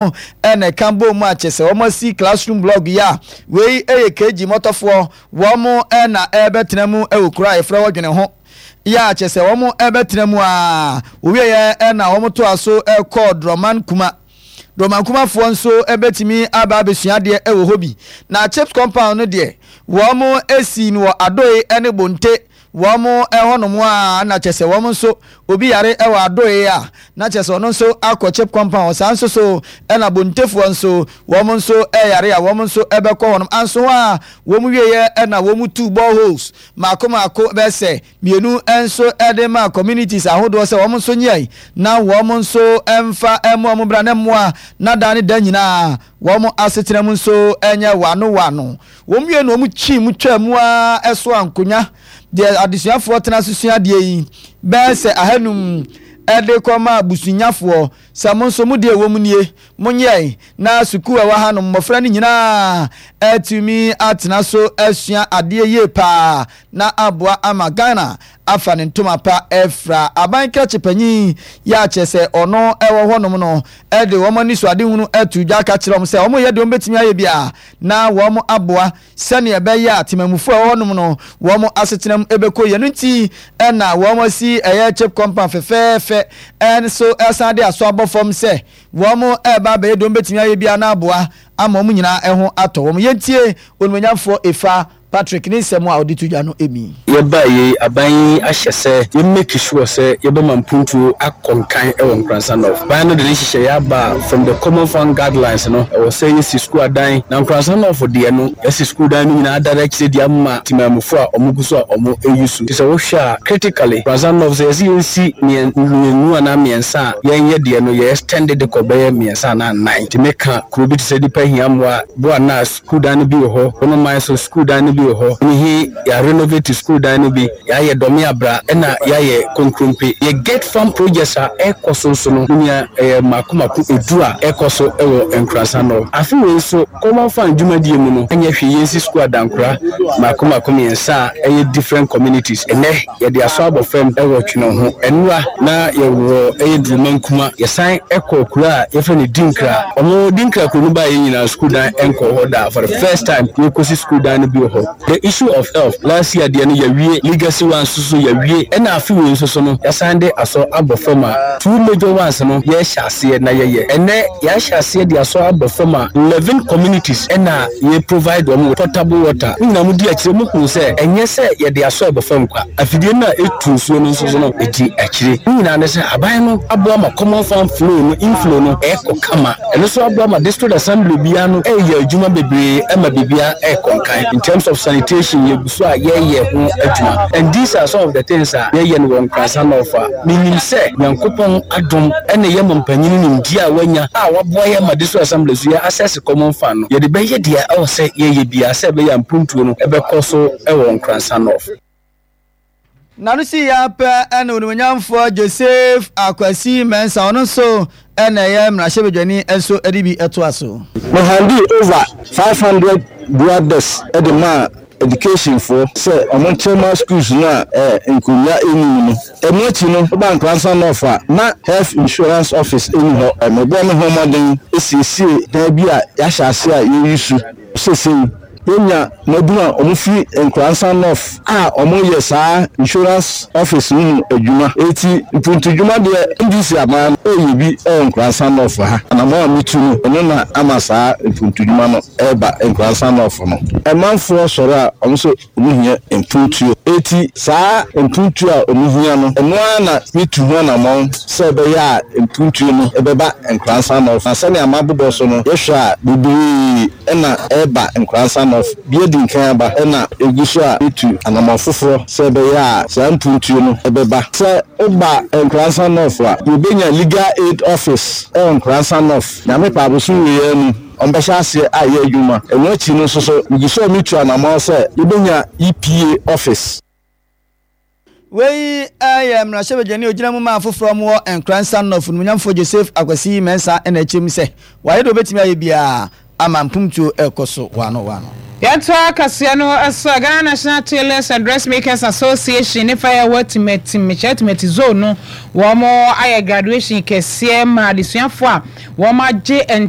Na ɛka bɔɔ mu a kyerɛ sɛ wɔasi classroom block yi a wei yɛ KG mmɔtɔfoɔ wɔn na ɛrebɛtena mu wɔ kuro a yɛfrɛ hɔ Dwene ho yi a kyerɛ sɛ wɔn ɛrebɛtena mu a wɔwieɛ na wɔn toa so kɔɔ Drɔman Kuma. Drɔman Kumafoɔ nso bɛtumi aba abɛsua adeɛ wɔ hɔ bi. Na CHPS compound no deɛ wɔn si no wɔ Adoe ne Bonte Wɔn hɔnom a na kyerɛ sɛ wɔn nso obi yare wɔ adoe a na kyerɛ sɛ ɔno nso akɔ chip compound saa nso so ɛna bontefoɔ nso wɔn nso yare a wɔn nso bɛkɔ hɔnom anso hɔ a wɔn wieɛ ɛna wɔn tu boreholes mako mako bɛsɛ mmienu nso de ma communities ahodoɔ sɛ wɔn nso nyɛ na wɔn nso mfa mmoa wɔn bra na mmoa na da ne da nyinaa wɔn asetena mu nso nyɛ wano wano. Wɔn wiei no, wɔkyii mu twaa mu ara soaa nkonya deɛ adesuafoɔ tena so sua adeɛ yi bɛyɛ sɛ ahanum de kɔmaa abusunyafoɔ sɛ mo nso mo deɛ ɛwɔ mu nie, monyɛe na sukuu a ɛwɔ ha no mmɔfra no nyinaa atumi atena so asua adeɛ yie paa na aboa ama Ghana afa ne ntoma pa afira. Aban krakye panyin yi a kyerɛ sɛ ɔno wɔ hɔnom no de wɔn anisoadehunu ato dwa aka kyerɛ wɔn sɛ wɔyɛ deɛ wɔbɛtumi ayɛ biara na wɔaboa sɛnea ɛbɛyɛ a temamufo a ɛwɔ hɔnom no wɔn asetenam bɛkɔ yie. Ɛno nti na wɔasi ɛyɛ chip compound fɛfɛɛfɛ nso san de aso abɔ fam sɛ wɔreba abɛyɛ deɛ wɔbɛtumi ayɛ biara na aboa ama wɔn nyinaa ho atɔ wɔn. Yɛntie Onimuonyamfoɔ Efa Patrick ne nsɛm a ɔde to dwa no mi. Yɛbaeɛ yi, aban yi ahyɛ sɛ yɛ make sure sɛ yɛbɛma mpuntuo akɔ nkan wɔ Nkoransa North. Aban no de ne nhyehyɛeɛ aba a from the Common Fund Guidelines no, ɛwɔ sɛ yɛsi sukuu adan. Na Nkoransa North deɛ no, yɛasi sukuu dan no nyinaa adada akyire de ama temanmufoɔ a wɔgu so a wɔyi su. Nti sɛ wohwɛ a, critically, Nkoransa North sɛ yɛse yɛnsi mmienu anaa mmiɛnsa a, yɛnyɛ deɛ no, yɛ extend de kɔ bɛyɛ mmiɛnsa anaa nnan. Nti meka kuro bi te sɛ Nipa Hia Mmoa, Boa Nas, Sukuu dan no bi wɔ hɔ, Bono man so sukuu dan no bi wɔ hɔ, Nihi yɛarenovate sukuu dan no bi, yɛayɛ Dɔme Abra ɛna yɛayɛ Konkrompe. Yɛ Get Farm projects a ɛrekɔ so nso no, me nua ɛyɛ mako mako edu a ɛrekɔ so wɔ Nkoransa North. Afe wei nso, Common Fund dwumadie mu no, ɛnyɛ hwee yɛnsi sukuu adankora mako mako mmiɛnsa a ɛyɛ different communities. Ɛnnɛ yɛde asɔ abɔ fam wɔ Twene ho. Ɛnora na yɛwɔ ɛyɛ Duruma Nkuma. Yɛsan kɔɔ kuro a yɛfrɛ no Dinkra. Wɔn Dinkra kuro no baeɛ nyinaa sukuu dan nkɔɔ hɔ da. For the first time yɛrekɔsi sukuu dan no bi wɔ hɔ. The issue of health, last year deɛ no yɛawie, legacy ones nso so yɛawie, ɛna afe wei nso so no yɛasan de asɔ abɔ fam a two major ones no yɛrehyɛ aseɛ na yɛyɛ. Ɛnnɛ yɛahyɛ aseɛ de asɔ abɔ fam a 11 communities ɛna yɛ provide wɔn with potable water. Mo nyinaa modi akyire, mohunu sɛ ɛnyɛ sɛ yɛde asɔ ɛbɔ fam kwa. Afidie no a ɛtu nsuo no nso so no, ɛdi akyire. Ne nyinaa ne sɛ aban no aboa ma common fund flow no, inflow no ɛrekɔ kama. Ɛno nso aboa ma district assembly biara no ɛreyɛ adwuma bebree ma biribiara ɛrekɔ nkan. In terms of sanitation, yɛgu so a yɛreyɛ ho adwuma. And these are some of the things a yɛyɛ no wɔ Nkoranza North a menim sɛ Nyankopɔn adom ne yɛn mampanyini nimdeɛ a wanya a waboa yɛn ma district assembly so yɛ access common fund no, yɛde bɛyɛ deɛ ɛwɔ sɛ yɛyɛ biara sɛ ɛbɛyɛ a mpuntuo no bɛkɔ so wɔ Nkoranza North. N'ano sii ara pɛ na Onimuonyamfoɔ Joseph Akwasi Mensah, ɔno nso na ɛyɛ mmarahyɛbadwani nso de bi toa so. Me handee over 500 dual desks de maa education foɔ sɛ ɔmo nkyerɛ ma schools no a nkonnwa nni mu no. Ɛno akyi no, woba Nkoranza North a, na Health Insurance Office nni hɔ. Mebɔɔ me ho mmɔden siesiee dan bi a yɛahyɛ ase a yɛresu seesei. Yɛanya mmabunu a wɔfi Nkoranza North a wɔyɛ saa Insurance Office no mu adwuma. Enti mpuntudwuma deɛ, NDC aban no reyɛ bi wɔ Nkoranza North ha. Anammɔn a metu no, ɛno na ama saa mpuntudwuma no reba Nkoranza North no. Amanfoɔ sɔre a, wɔn nso Wɔhia mpuntuo. Enti saa mpuntuo a wɔhia no, ɛno ara na metu ho anammɔn sɛ ɛbɛyɛ a mpuntuo no bɛba Nkoransa North. Na sɛnea mabobɔ so no, yɛhwɛ a, bebree na ɛreba Nkoransa North. Bi adi nkan aba, ɛna ɛgu so a yɛtu anammɔn foforɔ sɛ ɛbɛyɛ a saa mpuntuo no bɛba. Sɛ woba Nkoransa North a, yɛbɛnya Legal Aid Office wɔ Nkoransa North. Nyame pɛ a, bosom wei ara mu. Wɔbɛhyɛ aseɛ ayɛ adwuma. Ɛno akyi no nso so, megu so a metu anammɔn sɛ yɛbɛnya EPA office. Wei yɛ mmarahyɛbadwani a ɔgyina mu ma afoforɔ a wɔwɔ Nkoransa North, Onimonyamfoɔ Joseph Akwasi Mensah na ɛkyerɛ mu sɛ wayɛ deɛ ɔbɛtumi ayɛ biara. Ama mpomtuo rekɔ so waano waano. Yɛtoa kaseɛ no so a, Ghana National Tailors and Dressmakers Association ne fa a ɛwɔ Timati, mekyerɛ Timati Zone no, wɔn ayɛ graduation kɛseɛ ma adesuafoɔ a wɔn agye nte.